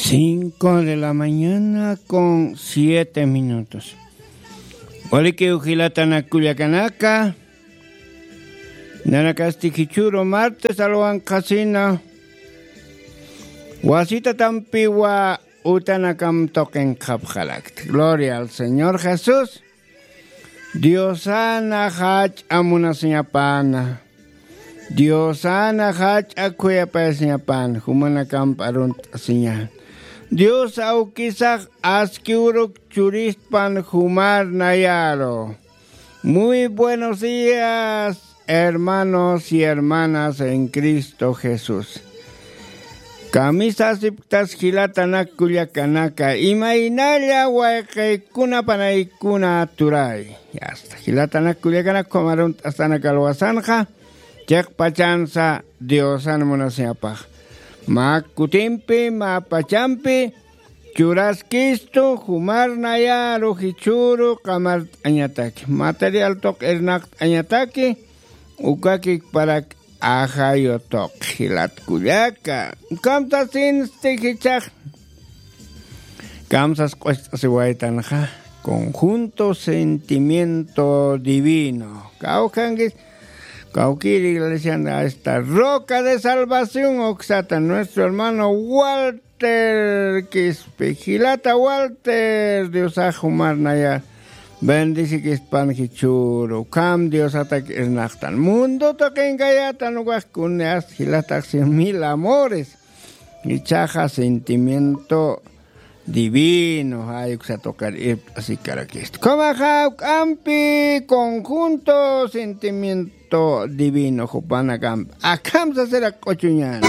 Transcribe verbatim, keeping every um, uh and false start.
Cinco de la mañana con siete minutos. Walikiw jilatanak kullakanaka, nanakasti jichhüru martes alwanqhasina wasitatampiwa utanakam tuqinqhapxarakta. Gloria al Señor Jesús. Diosana jach'a munasiñapana. Diosana jach'a khuyapayasiñapana, jumanakamp arunt'asiña. Dios awkisax aski uruk churistpan jumar nayaru. Muy buenos días, hermanos y hermanas en Cristo Jesús. Kamisasipktas jilatanak kullakanaka, imaynalla wayqiykuna panaykuna turay. Yasta, jilatanak kullakanak, ukham arunt'astanak alwasanxa, chiqpachansa Diosan munasiñapax. Mä kutimpi, mä pachampi, churaskistu jumar nayaru jichhüru qamart'añataki, material tuq irnaqt'añataki, ukakikparak ajayu tuq jilat kullaka. Ukham sasinsti jichhax kamsas q'ucht'asiwaytanxa, conjunto sentimiento divino. Kawkhankis, kawkïr iglesian, esta Roca de Salvación uksata, nuestro hermano Wal Walter Quispe, jilata Walter, Diosax jumar naya bendecikispan jichhüru, ukham Diosatak irnaqtan. Mundo tuqinkayätan, ukax kunas jilatax cien mil amores. Jichhaxa sentimiento divino, jay uksa tuqir irpt'asikarakista. Ukhamaxa jawk'ampi conjunto sentimiento divino jupanakampi. Akham sasirak q'uchuñan.